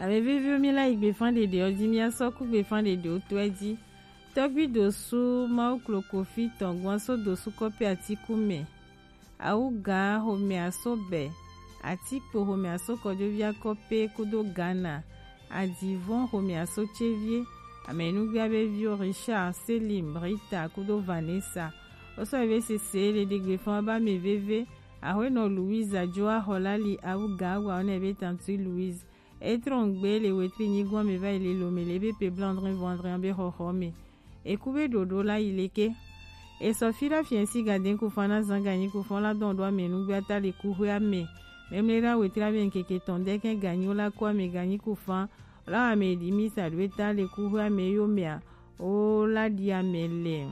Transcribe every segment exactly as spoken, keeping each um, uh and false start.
Ame veviwo, mi la yi gbefan ɖeɖe ɔ ji, mi asɔ ku gbefan ɖeɖe wo to ɛ ji. Tɔgbi dosu Mawu kloko fi tɔn gwan so dosu kɔpe atiku mɛ. Awuga xomɛ aso bɛ, atikpo xomɛ aso kɔjovi akɔpe kudo Ghana, adivɔn xomɛ aso cevie, amenugbe abe vio Richard, Selim, Rita kudo Vanessa. Osɔ ebe sese le ɖegbe fɔn ba mi veve, axwenɔ Louise ajo axɔ la li awuga awa ɔnɛ be tantui Louise. E trɔn gbe le wetri nyigbɔn mɛ va yi le lome le be pe bla André vɔ André be xɔxɔ mɛ. E ku be ɖoɖo la yi leke. E sɔ fi la fiɛnsi gaden ku fan na zan ganyi ku fɔn la dɔn ɖo ame nugbe ata le ku xwe ame. Memle la wetri abe nkeke tɔn dɛkɛn ganyi wo la ku ame ganyi ku fan. La ame ɖi mi sa ɖo eta le ku xwe ame yo mɛa. O la ɖi ame le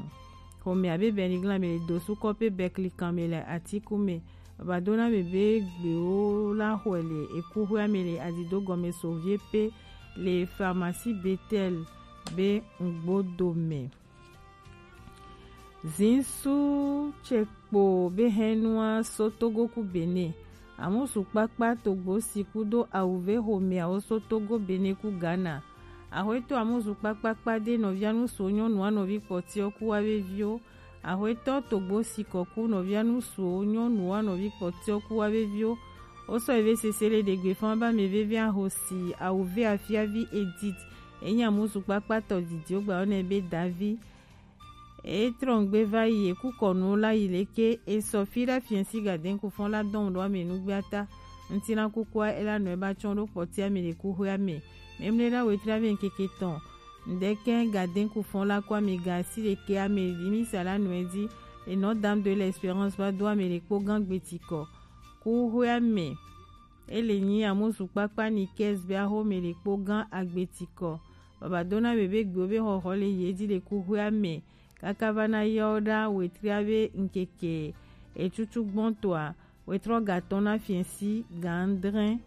xɔme abe bɛnigla me le dosu kɔpe bɛkli kan me le atiku me. Baba dona me be gbewo la xɔe le eku xɔe ame le adido gɔme so vie pe le pharmacie Betel be ŋgbodo me. Zinsu ce kpo be hɛnua so Togo ku Benin. Amusu kpakpa togbo si kudo awuve xomɛawo so Togo, Benin ku Ghana. Axwetɔ amusu kpakpakpa de nɔvia nusuwo nyɔnua nɔvi kpɔtiɔ ku wa veviwo. Axwetɔ togbo si kɔ ku nɔvia nusuwo nyɔnua nɔvi kpɔtiɔ ku wa veviwo. Wo sɔ eve sese le ɖegbe fan ba me veve ahosi awuve afiavi Edith. Enyi amusu kpakpa tɔ didiwo gba wo nɛ be Davi. E trɔn gbe va yi, e ku kɔnu la yi leke, e sɔ fi ɖa fiɛnsi gaden ku fɔn la dɔn ɖo ame nugbe ata. Ŋuti la kukua e la nɔ e ba tsɔn ɖo kpɔtia me le ku xwe ame. Memle la wetri ame nkeke tɔn. Ŋdɛkɛ gaden ku fɔn la ku ame ga si leke ame vi mi sa la nɔ e di. E nɔ Dame de l'Espérance va do ame le kpo gan gbetikɔ. Ku xwe ame. E le nyi amusu kpakpa ni kɛs be axo me le kpo gan agbetikɔ. Baba dona be be gbewo be xɔxɔ le ye di le ku xwe ame. Kaka va na yɔ ɖa wetria be ŋkeke etutu gbɔntɔa, wetrɔ gatɔn na fiɛnsi gandrɛn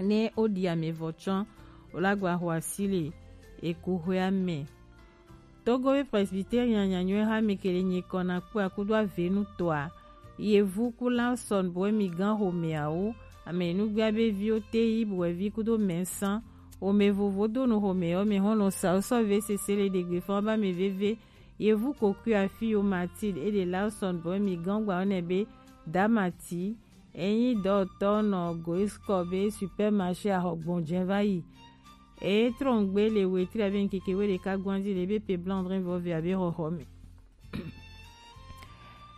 ne o ɖi ame vɔ tsɔn o la gba xɔ asi le eku xwe ame. Togo be presbytérien nyanyɔe ha mi kele nyi kɔ na kpɔ akudo avenu tɔa. Yevu ku la sɔn bɔ mi gan xomɛawo, ame nugbea be viwo te yi bɔ vi kudo mɛsan. Xome vovo do nu xome yɔ me hɔn nɔ sa sɔ ve sese le ɖegbe fan ba me veve. Yevu kokui afi yo Mathilde e de la sɔn bɔ mi gan gba ne be Damati. Enyi dɔtɔ nɔ Goiskɔ be supermarché axɔ gbɔnjɛ va yi. E trɔn gbe le wetri abe nkeke we ɖeka gbɔn di le be pe blanc drin vɔ ve abe xɔxɔ me.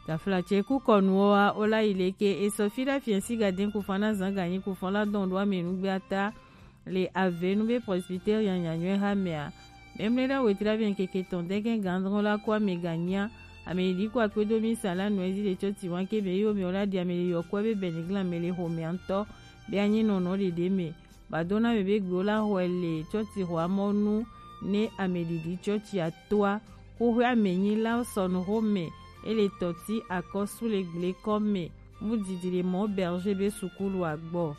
Tafla ce ku kɔnuwo wa o la yi leke e sɔ fi ɖa fiɛnsi gaden ku fan na zan ganyi ku fan la dɔn ɖo ame nugbe ata. Le avenu be presbytérien nyanyɔe ha mea. Memle ɖa wetri abe nkeke tɔn dɛgɛ gandrɔn la ku ame ganyia. Ame yi di ku akpedo mi sa la nɔ ezi le tsɔ ti wan ke me yo me o la di ame le yɔ ku be bɛnigla me le xomea ŋtɔ be anyi nɔnɔ ɖeɖe me. Ba dona me be gbewo la xɔe le tsɔtsi xɔa mɔnu ne ameɖiɖi tsɔtsi atoa. Xoxoe amenyi la sɔnu xome ele tɔti akɔsu le gble kɔ me mu didi le mɔ berger be sukulu agbɔ.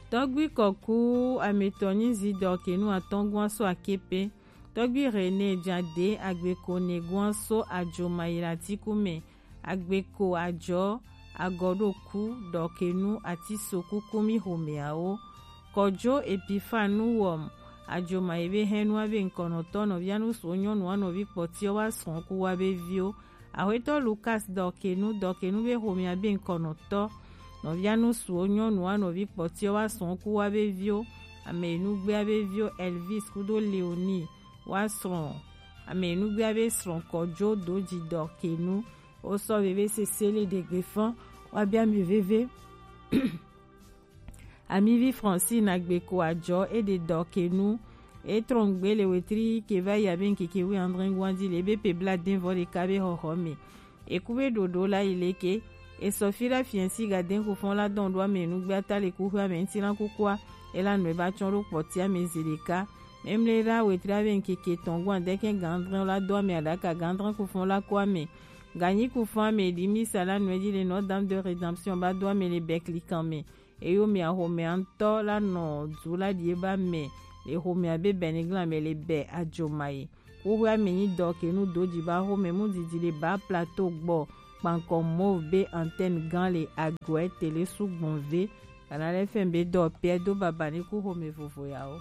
Tɔgbi kɔku ametɔ nyi zi dɔ kenu atɔngua so akepe. Tɔgbi René Jade agbeko ne gua so ajomayi la tiku me. Agbeko ajɔ agɔɖoku dɔkenu atiso kukumi xomeawo. Kɔjo Epifanu wɔm ajomayi be hɛnua be ŋkɔnɔtɔ nɔvia nusuwo nyɔnua nɔvi kpɔtiɔ wa srɔ̃ ku wa be viwo. Axwetɔ Lukas dɔkenu dɔkenu be xomea be ŋkɔnɔtɔ nɔvia nusuwo nyɔnua nɔvi kpɔtiɔ wa srɔ̃ ku wa be viwo. Ame nugbea be viwo Elvis kudo Leonie wa srɔ̃. Ame nugbea be srɔ̃ kɔjo doji dɔkenu. Wo sɔ veve sese le ɖegbe fɔn wa bia mi veve. Amivi Francine agbeko ajɔ e de dɔkenu. E trɔn gbe le wetri ke va yi abe nkeke wi andre guandi le be pe bla den vɔ ɖeka be xɔxɔ me. E ku be ɖoɖo la yi leke. E sɔ fi la fiɛnsi gaden ku fɔn la dɔn ɖo ame nugbe ata le ku xwe ame ŋti la kukua. E la nɔ e ba tsɔn ɖo kpɔti ame zi ɖeka. Memle la wetri abe nkeke tɔn guan dɛkɛ gandrɛn la do ame aɖaka gandrɛn ku fɔn la ku ame. Ganyi ku fɔn ame ɖi mi sa la nɔ e di le nɔ Dame de Rédemption ba do ame le bɛkli kan me. Eyo mia xomea ŋtɔ la nɔ du la ɖie ba mɛ le xomea be bɛnigla mɛ le bɛ ajomayi. Xoxoe ame nyi dɔkenu doji ba xome mu didi le ba plateau gbɔ kpankɔ mauve be antenne gan le agɔɛ tele su gbɔn ve Kana le fɛn be dɔ pɛ do baba ni ku xome vovo yawo.